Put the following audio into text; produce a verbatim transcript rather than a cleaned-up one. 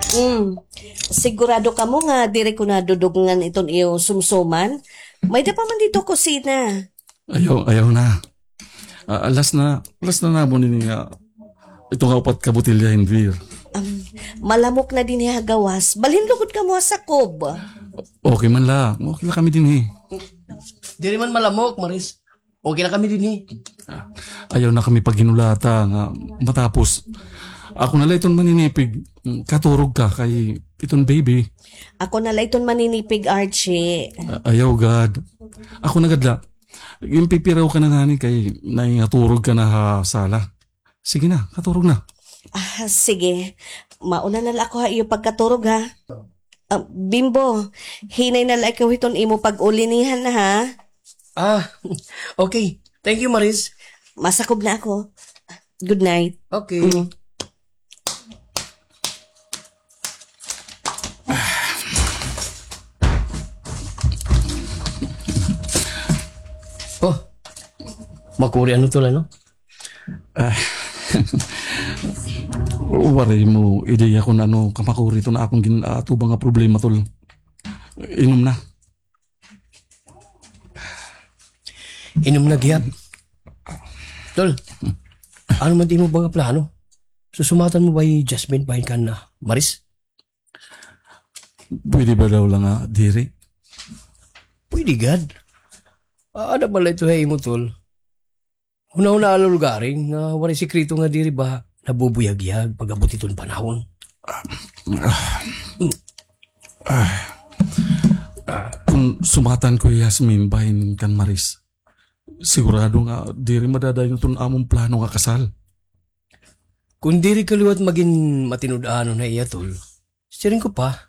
Mm. Sigurado kamo nga diri ko na dudugngan iton iyo sumsuman? May-ada pa man didto kusina. Ayaw, ayaw na. Ah, last na, last na namon ini nga, ito nga upat ka botelya hin beer. Um, malamok na dinhi ha gawas. Balhin lugod kamo ha sakob. Okay man la. Okay la kami dinhi. Diri man malamok, Maris. Okay la kami dinhi. Ah, ayaw na kami paghinulata nga matapos. Ako na la iton maninipig, mm, katurog ka kay iton baby. Ako na la iton maninipig, Archie. Ah, ayaw gad. Ako na gad la. Ginpipiraw ka na ngani kay nahingaturog ka na ha sala. Sige na, katurog na. Ah, sige. Mauna na la ako ha iyo pagkaturog, ha. Ah, Bimbo, hinay na la ikaw hiton imo pag-ulinihan na, ha. Ah, okay. Thank you, Maris. Masakob na ako. Good night. Okay. Mm. Oh, makuri ano to la, no? Ah, waray mo ideya kon ano kamakuri iton akon gin-aatubang nga problema, tol. Inom na. Inom na gihap. Tol, ano man it imo ba nga plano? Susumatan mo ba hi Jasmine bahin kan Maris? Pwede ba daw la nga diri? Pwede gad. Ah, ada man la ito ha imo, tol. Hunahunaa la lugaring nga waray sikreto nga diri ba nabubuyagyag pag-abot iton panahon. Ah, ah, ah, kon sumatan ko hi Yasmin bahin kan Maris, sigurado nga diri madadayon iton amon plano nga kasal. Kon diri ka liwat magin matinud-anon ha iya, tol, siring ko pa,